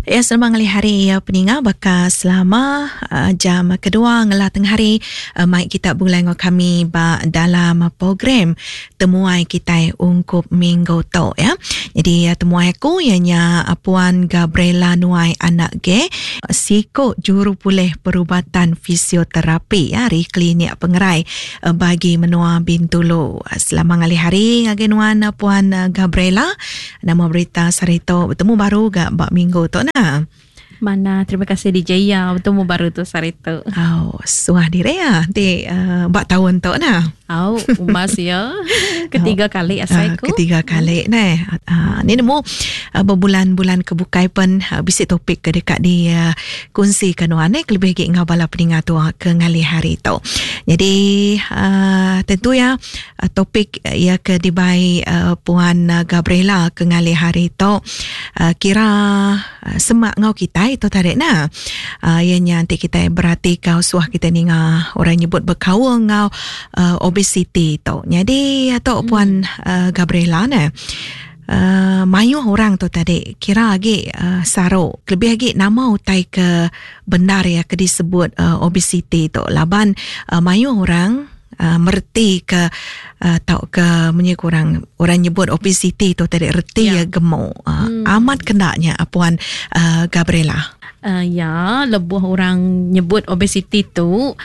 Ya selama ngalih hari ya peninga baka selama jam kedua ngelah tengah hari mai kita begulai enggau kami ba dalam program temuai kitai ungkup minggu tu ya. Jadi temuai aku iya nya Puan Gabriela Nuai Anak Ge siku juru pulih perubatan fisioterapi ya ari klinik pengerai bagi menua Bintulu. Selama ngalih hari ngagai nuan Puan Gabriela. Nama berita sehari tu betemu baru ga ba minggu tu nah. Manah, terima kasih DJ ya betemu baru tu sehari tu. Au, suah diri ya ti uh, ba taun tu nah. Au, umbas ya. Ketiga kali asai ku. Uh, ketiga kali neh. Uh, ni nemu uh, berbulan-bulan ke bukai pen uh, bisi topik ke deka di uh, kunsi ke nuan eh kelebih agi enggau bala peninga tua ke ngalih hari tu. Jadi uh, tentu ya Topik iya ke dibai Puan Gabriela ke ngalih hari tu kira semak enggau kitai tu tadi nah. Iya nya enti kitai beratika suah kitai ninga orang nyebut bekaul enggau obesiti tu. Nyadi tu Puan Gabriela neh mayuh orang tu tadi kira agi saru kelebih agi nama utai ke bendar iya ke disebut obesiti tu laban mayuh orang mereti ke tauka munyi ku orang orang nyebut obesiti tu tadi reti iya gemuk. Amat kena nya Puan Gabriela. Ya lebuh orang nyebut obesiti tu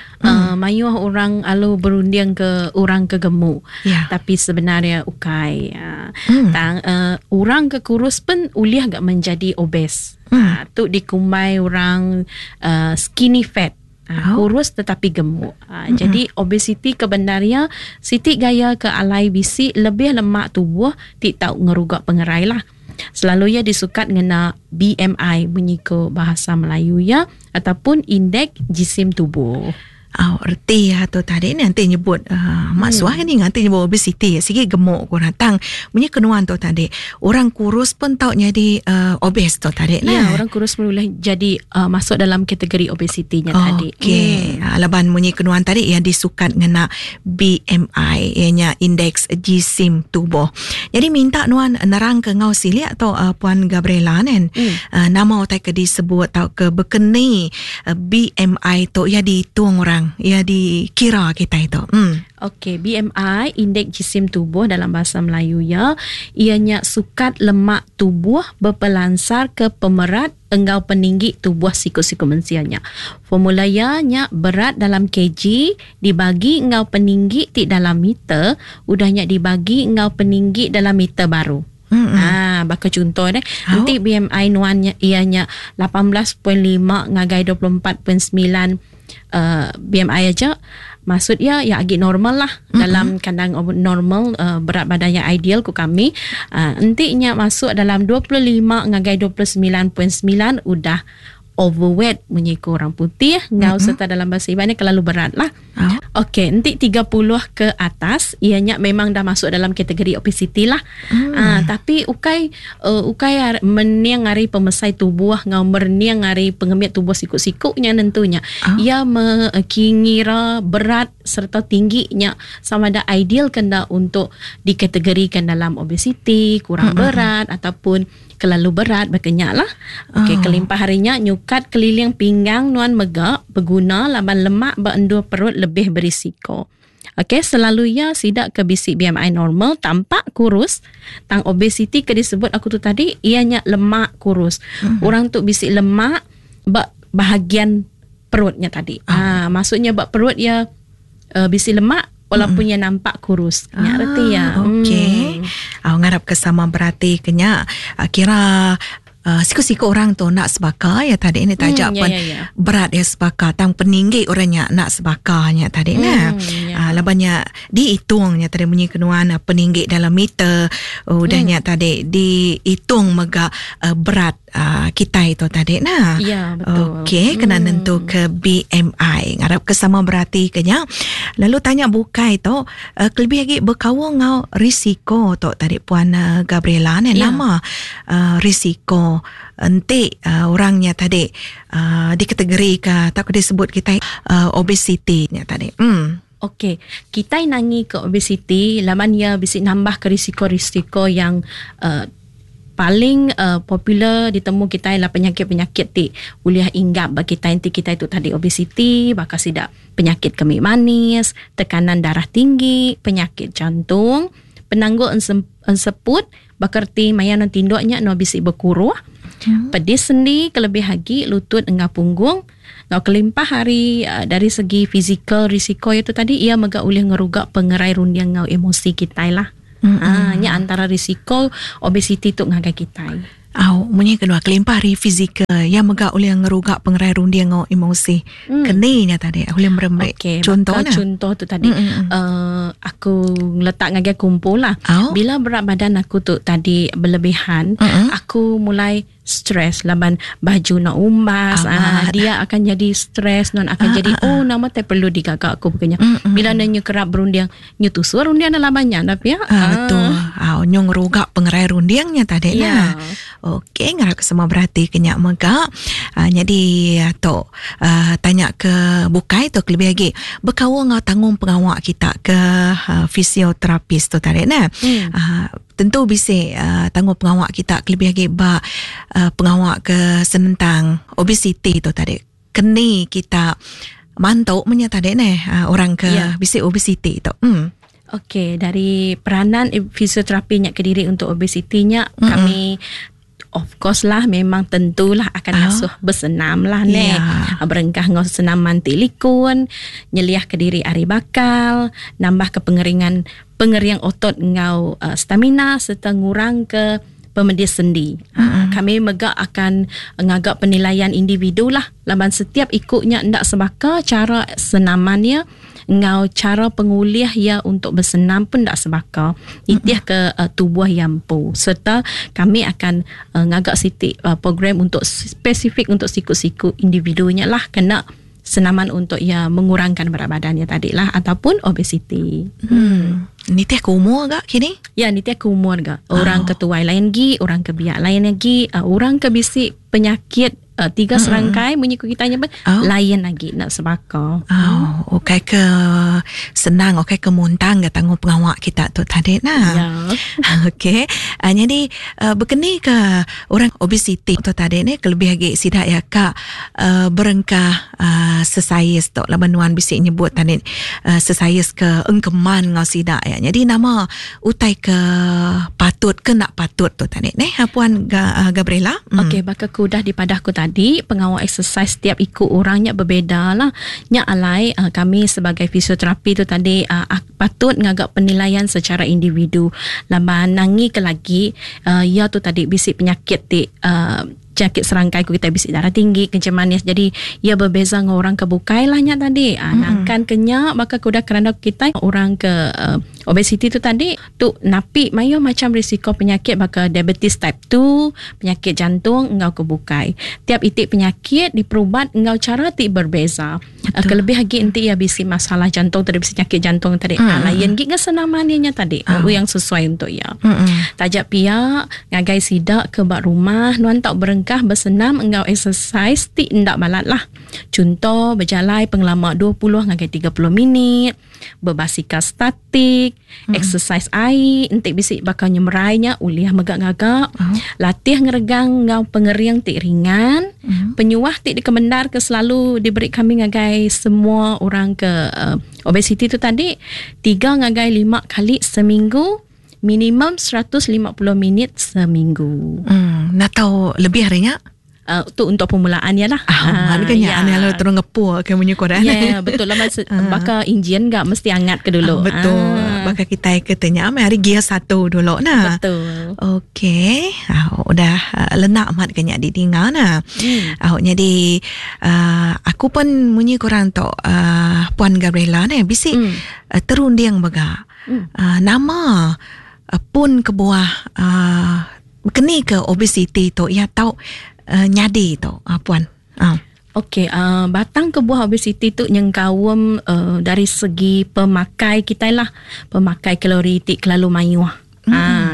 mayuh orang alu berunding ke orang ke gemuk. Tapi sebenarnya ukai. Tang orang ke kurus pun ulih ga menjadi obes. Tu dikumbai orang skinny fat. Kurus tetapi gemuk. Jadi obesiti ke bendar iya siti gaya ke alai bisi lebih lemak tubuh ti tau ngeruga pengerai lah. Selalu iya disukat ngena BMI munyi ko bahasa Melayu iya ataupun indeks jisim tubuh. Au reti iya tu tadi ne enti nyebut uhh mak suah ke ninga enti nyebut obesiti sigi gemuk ku orang tang munyi ke nuan tu tadi orang kurus pun tau nyadi uhh obes tu tadi ne. Ya orang kurus pun ulih jadi uhh masuk dalam kategori obesiti nya tadi. Okey laban munyi ke nuan tadi iya disukat ngena BMI iya nya indeks jisim tubuh. Nyadi minta nuan nerang ke enggau silik tu Puan Gabriela nen uhh nama utai ke disebut tauka bekeni BMI tu iya diitung orang, iya dikira kitai tu. Em. Okey, BMI, indeks jisim tubuh dalam bahasa Melayu iya, iya nya sukat lemak tubuh bepelansarka pemerat enggau peninggi tubuh siku-siku mensia nya. Formula iya nya berat dalam kg dibagi enggau peninggi ti dalam meter, udah nya dibagi enggau peninggi dalam meter baru. Ha, baka chunto deh, enti BMI nuan nya iya nya 18.5 ngagai 24.9 uh, BMI aja, maksud iya iya agi normal lah dalam kandang normal uh, berat badan yang ideal ku kami. Uh, enti nya masuk dalam 25 ngagai 29.9 udah overweight munyi ku orang putih enggau mm-hmm. serta dalam bahasa Iban ni kelalu berat lah. Oh. Okey, enti 30 ke atas ia nya memang dah masuk dalam kategori obesiti lah. Mm. Tapi ukai uh, ukai mening ari pemesai tubuh enggau merening ari pengemit tubuh siku-siku nya nentunya. Oh. Ia me, ngira berat serta tinggi nya sama ada ideal ke enda untuk dikategorikan dalam obesiti, kurang mm-hmm. berat ataupun Kelalu berat baka nya lah. Okey, oh. kelimpah hari nya nyukat keliling pinggang nuan mega beguna laban lemak ba endur perut lebih berisiko. Okey, selalu iya sida ke bisi BMI normal tampak kurus tang obesiti ke disebut aku tu tadi iya nya lemak kurus. Orang tu bisi lemak ba bahagian perut nya tadi. Oh. Ah, maksudnya ba perut iya uh, bisi lemak walaupun iya nampak kurus. Nya reti iya. Okey. Au ngarap ke sama berati ke nya. Kira uh, siku-siku orang tu enda sebaka ya tadi ni taja hmm, pun ya, ya, ya. berat ya sebaka tang peninggi orang nya nak sebaka nya tadi hmm, nah. Ya. Uh, laban nya dihitung nya tadi munyi kenuan peninggi dalam meter udah nya tadi dihitung mega uh, berat uh, kitai tu tadi nah. Ya, betul. Okey, kena nentu ke BMI. Ngarap ke sama berati ke nya. Lalu tanya bukai tu, uh, kelebih lagi bekaul enggau risiko tu tadi Puan uh, Gabriela ni ya. nama uh, risiko enti uh, orang nya tadi uh, dikategorika atau disebut kitai uh, obesiti nya tadi. Hmm. Okey, kitai nangi ke obesiti laban iya bisi nambah ke risiko-risiko yang uh, Paling popular ditemu kitai lah penyakit-penyakit ti ulih inggap ba kitai enti kitai tu tadi obesiti baka sida penyakit kemi manis, tekanan darah tinggi, penyakit jantung, penanggul enseput baka reti maya ne tinduk nya ne bisi bekuruh, pedis sendi kelebih agi lutut enggau punggung enggau kelimpah ari dari segi fizikal risiko iya tu tadi iya mega ulih ngeruga pengerai runding enggau emosi kitai lah. Mm-hmm. Nya antara risiko obesiti tu ngagai kitai. Au, munyi kedua kelimpah ari fizikal, iya mega ulih ngeruga pengerai runding enggau emosi. Mm. Keni nya tadi ulih merembe. Okay, contoh nah. Contoh tu tadi mm-hmm. aku letak ngagai kumpul lah. Au. Bila berat badan aku tu tadi berlebihan, mm-hmm. aku mulai stres laban baju nak umbas ah, dia akan jadi stres non akan ah, jadi ah, oh nama te perlu digaga aku bekenya mm, bila nyu kerap berunding nyu tusur runding dalam banyak tapi ya ah, betul ah nyu ngeruga pengerai rundingnya tadi yeah. nah okey ngarap ke semua berhati kenya mega ah, jadi tu ah, tanya ke bukai tu lebih lagi bekaul ngau tanggung pengawa kita ke uh, fisioterapis tu tadi nah mm. ah, Tentu bisi tanggung pengawa kita kelebih agi ba pengawa ke senentang obesiti tu tadi. Keni kita mantu menya tadi neh orang ke yeah. bisi obesiti tu. Hmm. Okey, dari peranan fisioterapi nya kediri untuk obesiti nya mm-hmm. kami of course lah memang tentulah akan oh. ngasuh bersenam lah ne. Yeah. Berengkah ngau senaman ti likun, nyeliah ke diri ari bakal, nambah ke pengeringan pengering otot ngau uh, stamina serta ngurang ke pemedis sendi. Mm-hmm. Kami mega akan ngaga penilaian individu lah laban setiap ikutnya ndak sebaka cara senamannya enggau chara pengulih iya untuk besenam pun enda sebaka nitih ke uh, tubuh iya empu serta kami akan uh, ngaga siti uh, program untuk spesifik untuk siku-siku individu nya lah kena senaman untuk ia mengurangkan berat badannya tadi lah ataupun obesiti. Hmm. Nitih ke umur gak kini? Ya, nitih ke umur gak. Orang oh. ke tuai lain gi, orang ke biak lain lagi, uh, orang ke bisi penyakit tiga serangkai munyi ku kita nya pun oh. lain lagi nak sebaka. Oh, okey ke senang okey ke muntang ke tanggung pengawa kita tu tadi nah. Ya. Okey. Jadi bekeni ke orang obesiti tu tadi ni kelebih lagi sida ya ka berengkah sesais tu laban nuan bisi nyebut tadi sesais ke engkeman ngau sida ya. Jadi nama utai ke patut ke nak patut tu tadi neh puan Gabriela. Okey baka ku udah dipadah ku tadi pengawa exercise setiap iku orang nya berbeza lah. Nya alai uh, kami sebagai fisioterapi tu tadi uh, patut ngaga penilaian secara individu. Laban nangi ke lagi uh, ia tu tadi bisi penyakit ti uh, penyakit serangkai ku kita bisi darah tinggi kencing manis jadi ia berbeza dengan orang ke bukai lah nya tadi mm-hmm. nangkan ke nya baka ku udah keranda kita orang ke uh, obesiti tu tadi tu napi mayuh macam risiko penyakit baka diabetes type 2 penyakit jantung enggau ke bukai tiap itik penyakit diperubat enggau cara ti berbeza. Betul. Kelebih lagi enti ia bisi masalah jantung tadi bisi penyakit jantung tadi. Mm. Lain gi ngah senaman ia nya tadi. Oh. Yang sesuai untuk ia. Mm. Taja pia ngagai sida ke ba rumah nuan tau berengkah bersenam enggau exercise ti enda balat lah. Chunto bejalai pengelama 20 ngagai 30 minit, bebasikal statik, mm. exercise ai enti bisi baka nyemerai nya ulih mega ngaga, mm. latih ngeregang enggau pengering ti ringan, mm. penyuah ti dikemendar ke selalu diberi kami ngagai semua orang ke uh, obesiti tu tadi 3 ngagai 5 kali seminggu minimum 150 minit seminggu. Hmm, nak tahu lebih hari nya? Tu untuk permulaan ya lah. Ah, kan ya, ya. Lalu terus ngepur ke munyi korang. Ya, yeah, betul lah. Mas, baka enjin gak mesti angat ke dulu. Betul. Baka kita ke tanya hari gear 1 dulu nah. Betul. Okey. Udah lenak amat ke nya didinga nah. Jadi aku pun munyi korang tu Puan Gabriela ni bisi terunding bega. Nama pun kebuah keni ke obesiti tu ya tau nyadi tu puan. Okey, batang kebuah obesiti tu nyengkaum dari segi pemakai kita lah, pemakai kalori ti kelalu mayuh.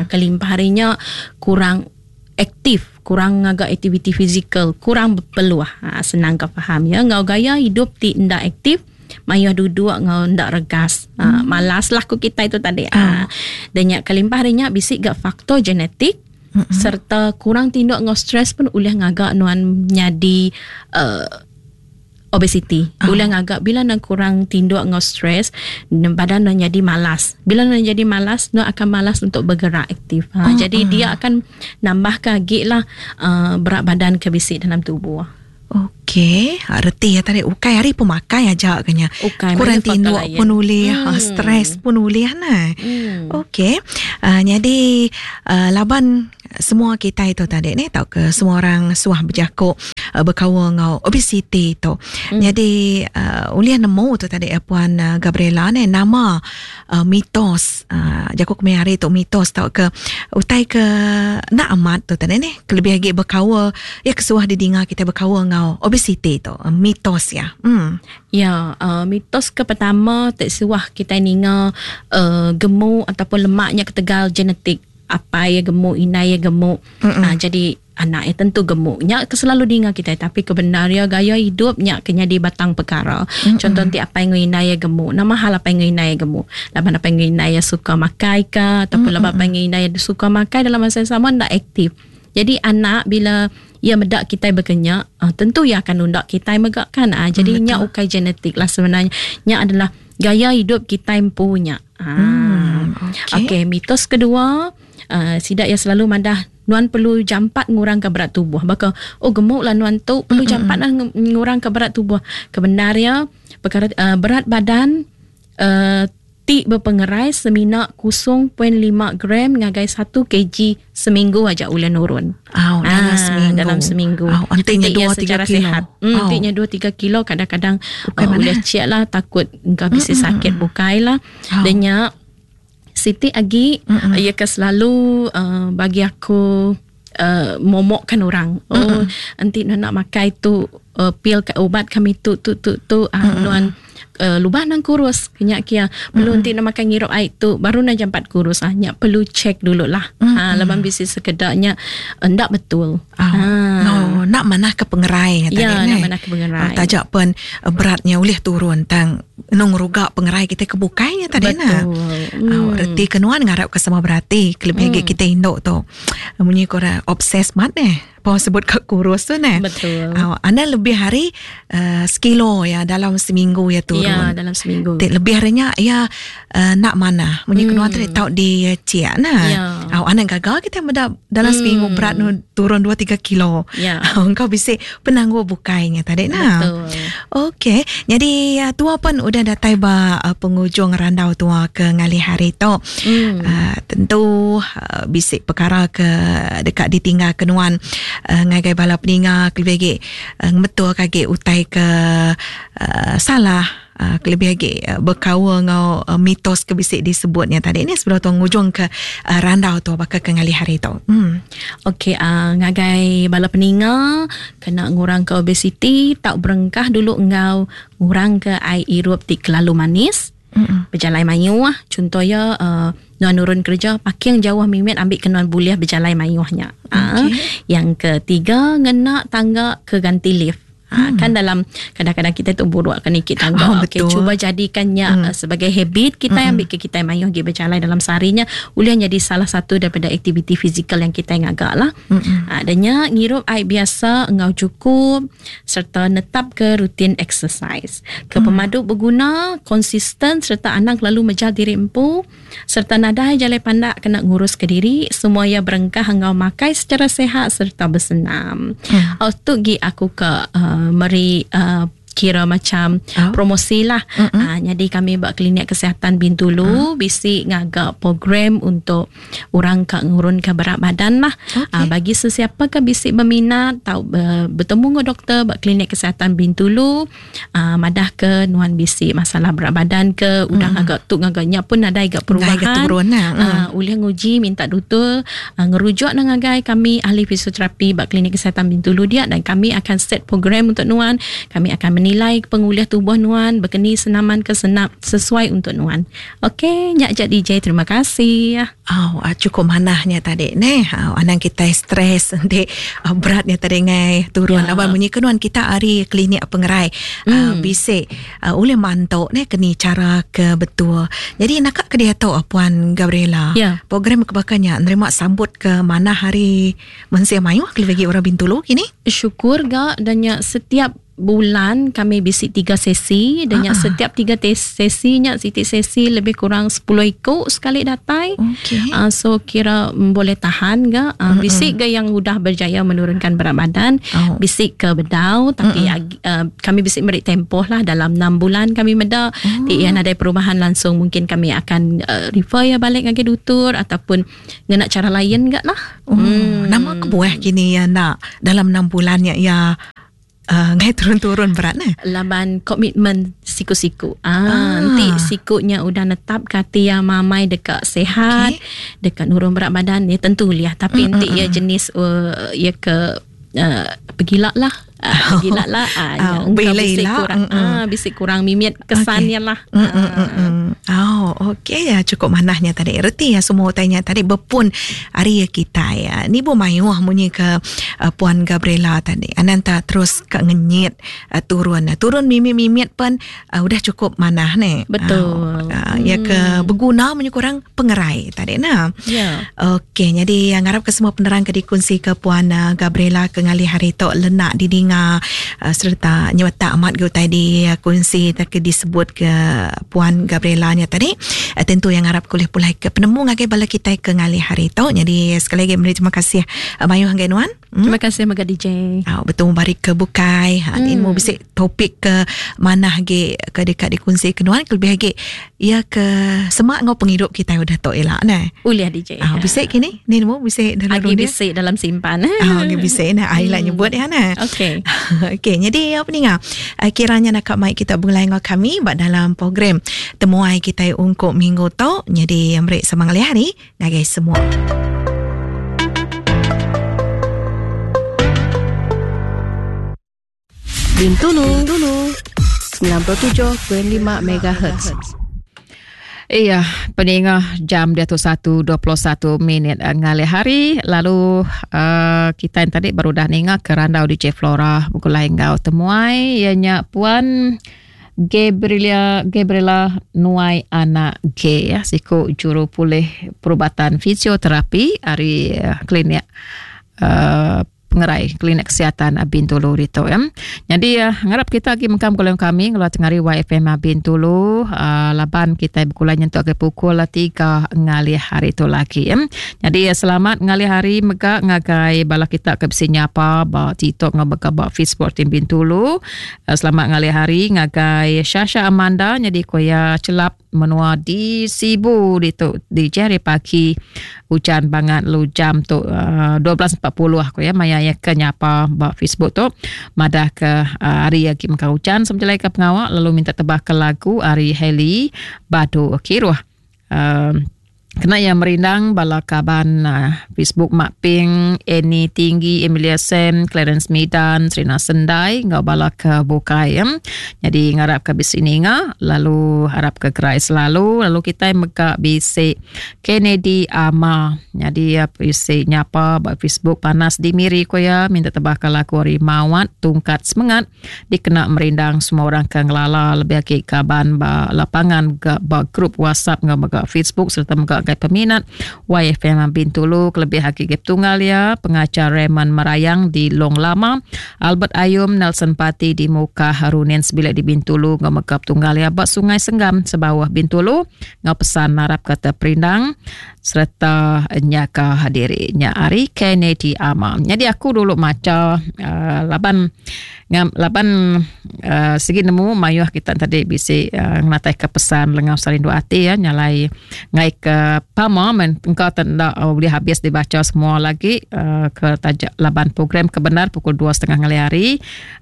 Kelimpah harinya kurang aktif, kurang agak aktiviti fizikal, kurang berpeluh. Senang kau faham ya, ngau gaya hidup ti ndak aktif, mayuh duduk ngau ndak regas. Malas lah ku kita itu tadi. Dan nya kelimpah harinya bisi gak faktor genetik. Mm-hmm. Serta kurang tinduk enggau stres pun ulih ngaga nuan nyadi uh, obesity. Oh. Ulih ngaga bila nuan kurang tinduk enggau stres, badan nuan jadi malas. Bila nuan jadi malas, nuan akan malas untuk bergerak aktif. Ha, oh. Jadi oh. dia akan nambahkan lagi lah uh, berat badan ke bisi dalam tubuh. Okey, ha, reti ya tadi ukai hari pemakai aja kenya. Ukai, kurang mayuh faktor tinduk lain. pun ulih, ha, stres pun ulih nah. Okey. Uh, jadi uh, laban semua kita itu tadi ni tau ke semua orang suah berjakuk uh, berkawan ngau obesity tu. Jadi uh, ulih nemu tu tadi uh, Puan uh, Gabriela ni nama uh, mitos uh, jakuk kami hari tu mitos tau ke utai ke nak amat tu tadi ni kelebih lagi berkawa ya kesuah didinga kita berkawa ngau obesity tu uh, mitos ya. Ya, uh, mitos ke pertama tak suah kita ninga uh, gemuk ataupun lemaknya ketegal genetik. Apa ya gemuk, inai ya gemuk. Uh, jadi anak ya tentu gemuk. Nyak selalu dengar kita tapi kebenaran gaya hidup nyak kena di batang perkara. Contoh nanti apa yang inai ya gemuk. Nama hal apa yang inai ya gemuk. Laban apa yang inai ya suka makai ke ataupun laban apa yang inai ya suka makai dalam masa yang sama ndak aktif. Jadi anak bila ia medak kita berkenyak, uh, tentu ia akan undak kita megak kan. Uh, jadi nyak ukai genetik lah sebenarnya. Nyak adalah gaya hidup kita punya. Okey. Okey, mitos kedua, uh, sidak yang selalu madah nuan perlu jampat ngurangkan berat tubuh. Baka oh gemuk lah nuan tu perlu jampat lah ngurangkan berat tubuh. Kebenarnya perkara uh, berat badan uh, ti berpengerai semina 0.5 gram ngagai 1 kg seminggu aja ulih nurun. Oh, dalam seminggu. Dalam seminggu. Oh, antinya Entiknya 2-3 secara kilo. sihat. Antinya 2-3 kilo kadang-kadang Bukan uh, mana? ulih cek lah takut engkau bisa sakit bukai lah. Oh. Denya Siti agi ia ke selalu uh, bagi aku uh, momokkan orang. Oh, nanti nuan nak makai tu uh, pil ke ubat kami tu tu tu tu uh, nuan uh, lubah nang kurus kenyak kia. Perlu nanti nak makan ngirup air tu baru nak jampat kurus ah. Nyak perlu check dulu lah. Ha laban bisi sekedaknya endak betul. Oh. No, nak mana ke pengerai kata Ya, dia, nak ni. mana ke pengerai. Oh, tajak pun uh, beratnya ulih turun tang nung rugak pengerai kita kebukainya tadi nah. Betul. Oh, reti kenuan ngarap ke sama berarti kelebih mm. kita induk tu. Munyi korang obses mat ni. Apa sebut kat kurus tu ni. Betul. Oh, anda lebih hari uh, sekilo ya dalam seminggu ya turun. Ya, dalam seminggu. Tik lebih harinya ya uh, nak mana. Munyi kenuan tu tau di ciak nah. Ya. Oh, anda gagal kita meda dalam seminggu berat nu turun 2-3 kilo. Ya. Engkau bisa penangguh bukainya tadi nah. Betul. Okey, jadi uh, tua pun udah datai ba uh, penghujung randau tua ke ngalih hari tu. Uh, tentu uh, bisik perkara ke dekat ditinggal kenuan uh, ngagai bala peninga kelebih lagi uh, ngebetul kage utai ke uh, salah uh, kelebih lagi uh, berkawa ngau uh, mitos ke bisik disebutnya tadi ni sebelum tuan ngujung ke uh, randau tu bakal ke ngalih hari tu. Okey, uh, ngagai bala peninga kena ngurang ke obesiti, tak berengkah dulu engau ngurang ke air irup ti kelalu manis. Berjalai mayuh, contohnya uh, nuan nurun kerja parking jauh mimit ambil ke nuan boleh berjalai mayuhnya. Okey. Uh, yang ketiga ngena tangga ke ganti lift. Ha, kan dalam kadang-kadang kita tu buruk kan ikut tangga. Oh, Okey, betul. cuba jadikannya sebagai habit kita ambil ke kita mayuh gi berjalan dalam seharinya boleh jadi salah satu daripada aktiviti fizikal yang kita ngagak lah. Ha, adanya ngirup air biasa engau cukup serta netap ke rutin exercise. Ke pemadu berguna, konsisten serta anak lalu mejal diri empu serta nadai jalai pandak kena ngurus ke diri semua ia berengkah engau makai secara sehat serta bersenam. Oh, tu gi aku ke uh, meri uh, kira macam Oh. promosi lah. Ha, jadi kami buat klinik kesihatan Bintulu bisi ngagak program untuk orang kak ngurun ke berat badan lah. Okey. Ha, bagi sesiapa ke bisi berminat tau uh, bertemu dengan doktor buat klinik kesihatan Bintulu, uh, madah ke nuan bisi masalah berat badan ke udah ngagak tu ngagaknya pun ada agak perubahan. Agak turun lah. Ulih nguji minta doktor uh, ngerujuk nang ngagai kami ahli fisioterapi bak klinik kesihatan Bintulu dia dan kami akan set program untuk nuan. Kami akan Nilai pengulih tubuh nuan bekeni senaman ke senap sesuai untuk nuan. Ok nya aja DJ terima kasih. Au cukup manah nya tadi neh. Au anang kitai stress enti berat nya tadi ngai turun ya. Laban munyi ke nuan kita ari klinik pengerai mm. bisi ulih mantu neh keni cara ke betul. Jadi naka ke diatu Puan Gabriela. Ya. Program ke baka nya nerima sambut ke manah ari Mensia mayuh kelebih agi orang Bintulu kini. Syukur ga dan nya setiap bulan kami bisi tiga sesi dan nya setiap tiga sesi nya siti sesi lebih kurang 10 iku sekali datai. Okay. So kira boleh tahan ga. Bisi ga yang udah berjaya menurunkan berat badan, oh. bisi ke bedau tapi uh, kami bisi meri tempoh lah dalam 6 bulan kami meda oh. ti iya nadai perubahan langsung mungkin kami akan refer ya balik ngagai dutur ataupun ngena cara lain ga lah. Oh, hmm. Nama kebuah kini ya nak dalam 6 bulan ya ya ngai turun-turun berat ne? Laban komitmen siku-siku. Ah, ah. Nanti sikunya udah netap kati ya mamai dekat sehat, okay. dekat nurun berat badan ya tentu liah. Tapi nanti ya jenis ya ke pegila lah. Gila lah. Uh, bisi kurang, bisi kurang mimit kesannya okay. lah. Oh, okey ya cukup manahnya tadi. Reti ya semua utainya tadi berpun hari kita ya. Ni bu mayuh munyi ke Puan Gabriela tadi. Ananta terus ke ngenyit turun. Turun mimit-mimit pun udah cukup manah ni. Betul. Ya ke berguna munyi kurang pengerai tadi nah. Ya. Okey, jadi ngarap ke semua penerang ke dikongsi ke Puan Gabriela ke ngalih hari tu lenak didinga serta nyewetak amat ke utai dikongsi ke disebut ke Puan Gabriela nya tadi. Tentu yang ngarap kulih pulai ke penemu ngagai bala kita ke ngalih hari tu. Jadi sekali lagi meri terima kasih mayuh ngagai nuan. Terima kasih mega DJ. Betul bari ke bukai. Ha ni mu bisi topik ke manah agi ke dekat dikongsi ke nuan kelebih agi ia ke semak ngau penghidup kita udah tok ila ne. Ulih DJ. Bisi kini ni nemu bisi dalam agi bisi dalam simpan. Agi bisi nah ila nyebut ya ne. Okey. Okey, jadi apa ninga? Kiranya nak mai kita begulai ngau kami ba dalam program temuai kita ungkup minggu tu. Jadi meri semangat hari ngagai semua. Bintulu, Bintulu 97.5 MHz. Iya, peninga jam dia tu 1.21 minit ngalih hari. Lalu kita yang tadi baru dah ninga ke randau DJ Flora begulai enggau temuai ianya Puan Gabriela Gabriela Nuai Anak G ya siku juru pulih perubatan fisioterapi ari klinik uh, pengerai klinik kesihatan Bintulu ditu ya. Jadi uh, ngarap kita agi mengkam gulai kami ngeluar tengari YFM Bintulu uh, laban kita begulai nyentuk ke pukul 3 ngalih hari tu lagi ya. Jadi uh, selamat ngalih hari mega ngagai bala kita ke bisi nyapa ba TikTok ngau mega ba Facebook tim Bintulu. Selamat ngalih hari ngagai Shasha Amanda nyadi ko iya chelap menua di Sibu ditu di jari pagi ujan bangat lu jam tu uh, 12.40 ko ya maya iya ke nyapa ba Facebook tu madah ke uh, hari agi mengkang ujan semenjalai ke pengawa lalu minta tebah ke lagu ari Hailey Badu Kiruh. Uh, Kena iya merindang bala kaban Facebook Mak Ping, Annie Tinggi, Emilia Sam, Clarence Midan, Serina Sendai enggau bala ke bukai. Nyadi ngarap ke bisi ninga lalu arap ke gerai selalu lalu kitai mega bisi Kennedy Ama. Nyadi iya bisi nyapa ba Facebook panas di Miri ku iya minta tebaka lagu ari Mawat Tungkat Semengat. dikena merindang semua orang ke ngelala lebih agi kaban ba lapangan mega ba grup WhatsApp enggau mega Facebook sereta mega gai peminat YFM Bintulu kelebih agi gai petunggal iya pengajar Raymond Merayang di Long Lama, Albert Ayum, Nelson Pati di Mukah, Runin sebilik di Bintulu enggau mega petunggal iya ba Sungai Senggam Sebauh Bintulu enggau pesan narapka teperindang sereta nyaga diri nya ari Kennedy Ama. Nyadi aku dulu macha uh, laban ngam, laban uh, sigi nemu mayuh kita tadi bisi uh, ngenatai ke pesan lengau sarindu ati ya nyalai ngai ke pama men engka tenda uh, boleh habis dibaca semua lagi uh, ke tajak laban program ke benar pukul 2.30 ngalih hari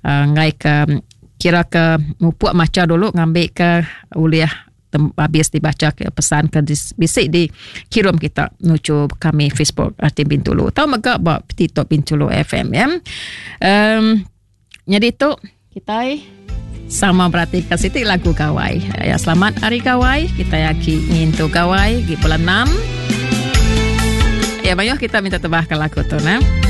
uh, ngai ke kira ke mupuk macha dulu ngambi ke ulih habis dibaca ke pesan ke bisi di kirum kita nuju kami Facebook Tim Bintulu atau mega ba TikTok Bintulu FM ya. Um, jadi tu kita. Sama berati ke siti lagu gawai. Ya, selamat hari gawai. Kita yaki ngintu gawai di bulan 6. Ya, mayuh kita minta tebah ke lagu tu nah.